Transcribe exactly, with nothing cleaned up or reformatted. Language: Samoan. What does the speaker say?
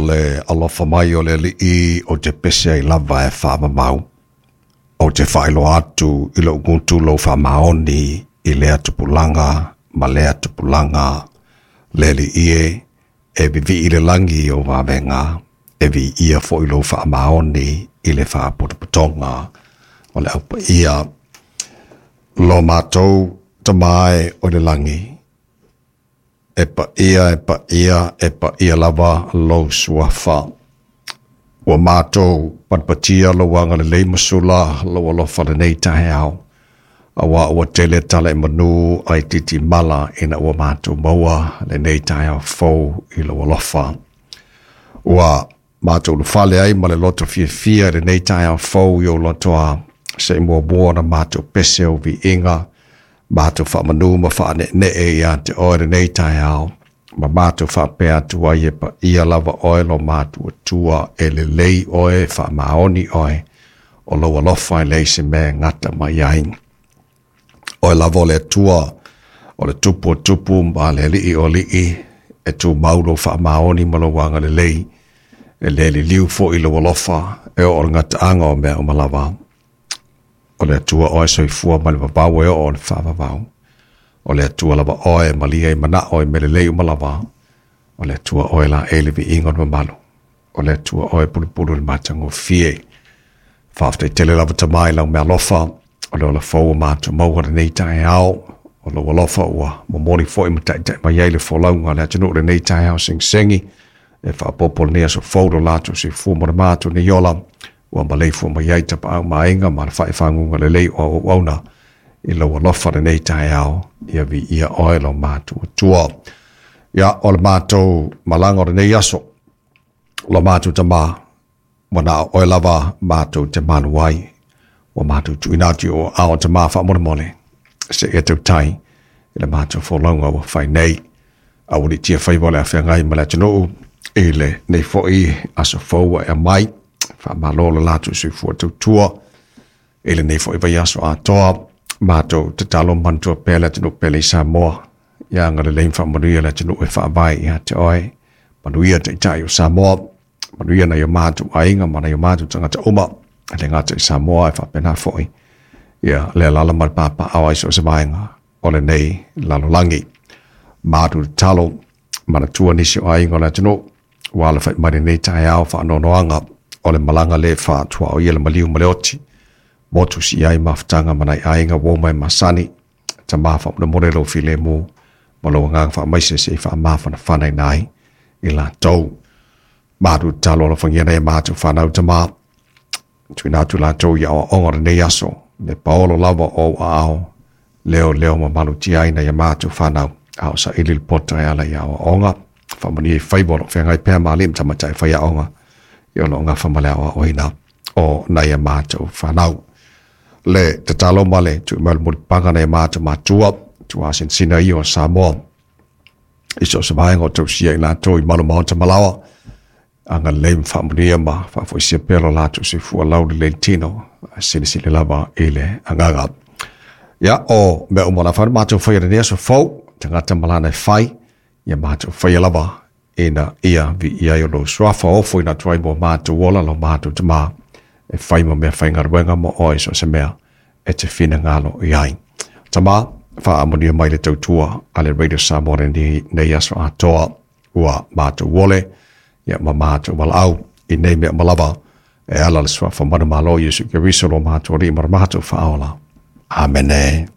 le alofa mai o le Alii o te pese ai lava e faamamau. O te faailoa atu i lou gutu lou faamaoni i lea tupulaga ma lea tupulaga. Le Alii e, e vivii i le lagi i ou vavega, e viia foi lou faamaoni i le faapotopotoga o le aupaia. Lo matou Tama e o le lagi, e paia e paia e paia lava lou suafa. Ua matou patipatia lou agalelei ma sula lou alofa lenei taeao. Aua ua tele tala i manu ai titi mala ina ua matou maua lenei taeao fou i lou alofa. Ua matou ulufale ai ma le loto fiafia i lenei taeao fou i ou lotoa, se i muamua ona matou pese ou viiga, matou faamanu ma faaneenee ia te oe lenei taeao, ma matou faapea atu ai e paia lava oe lo matou Atua, e lelei oe, e faamaoni oe, o lou alofa e leai se mea e gata mai ai. Oe lava o le Atua, o le Tupu o tupu ma le Alii o alii, e tumau lou faamaoni ma lou agalelei, e le liliu foi lou alofa, e oo i le gataaga o mea uma lava. O le Atua oe soifua mai le vavau e oo i le faavavau. O le Atua lava oe e malia i manao i mea lelei uma lava. O le Atua oe laei le viiga o le mamalu. O le Atua oe e pulupulu i le matagofie. Faafetai tele lava Tama i lau meaalofa, o le ola fou ua matou maua lenei taeao. O lou alofa ua momoli foi ma taitai mai ai le folauga a le atunuu lenei taeao segisegi, e faaopoopo lenei aso fou lo latou soifua ma le matou nei ola, ua maleifua mai ai tapaau ma aiga ma le faaifaguga lelei o auauauna i lou alofa lenei taeao, ia viia oe lo matou Atua. Ia, o le matou malaga o lenei aso, lo matou Tama, ua na o oe lava matou te malu ai, ua matou tuuina atu i ou aao Tama faamolemole, seia tautai i le matou folauga ua fai nei. Aualiitia faiva o le afeagai ma le atunuu i lenei foi aso fou ua e aumai. Faamalo le latou soifua tautua i lenei foi vaiaso atoa. Matou tatalo ma manatua pea le atunuu pele i Samoa. Ia agalelei ma faamanuia le atunuu e faavae ia te oe. Manuia Taitai o Samoa. Manuia nai o matou aiga ma nai o matou tagata uma. E le gata i Samoa e faapena foi ia le alaala ma le papaaao ai so o se vaega o lenei lalolagi. Matou tatalo, manatua nisi o aiga o le atunuu ua alafai mai lenei taeao faanoanoaga o le malaga le faatuaoia le maliu ma le oti. Motu si ai mafutaga ma nai aiga ua oma e masani. Tama faamolemole lou filemu ma lou agaga faamaise se i faamafanafanaina ai i latou. Matou tatalo alofagia nai a matou fanau Tama, tuuina atu latou i aoaoga o lenei aso, le paolo lava o ou aao, leo leo ma malutia ai nai a matou fanau, a o saili le poto e ala i aoaoga. Faamanuia i faiva o lo o feagai pea ma alii ma tamaitai faiaoga i o lo o gafa ma le aoaoina o nai a matou fanau. Le tatalo ma le tuu mai o le mulipapaga nai a matou matua, tuasinasina ia o Samoa, i so o se vaega o tausia i latou i malu maota ma laoa, agalelei ma faamanuia ma faafoisia pea lo latou soifua lau lelei le tino, silisili lava i le agaga. Ia, o mea uma o le a fai ona matou faia i lenei aso fou, tagata ma lana e fai, ia matou faia lava ina ia viia ai o lou suafa ofo ina atu ai mo matou ola lo matou Tama, e fai ma mea faigaluega mo oe so o se mea e te finagalo i ai. Tama, faamanuia mai le tautua a le Radio Samoa lenei aso atoa, ua matou ole, ia ma matou valaau i nei mea uma lava, e ala le suafa manumalo Iesu Keriso lo matou Alii ma lo matou Faaola. Amene.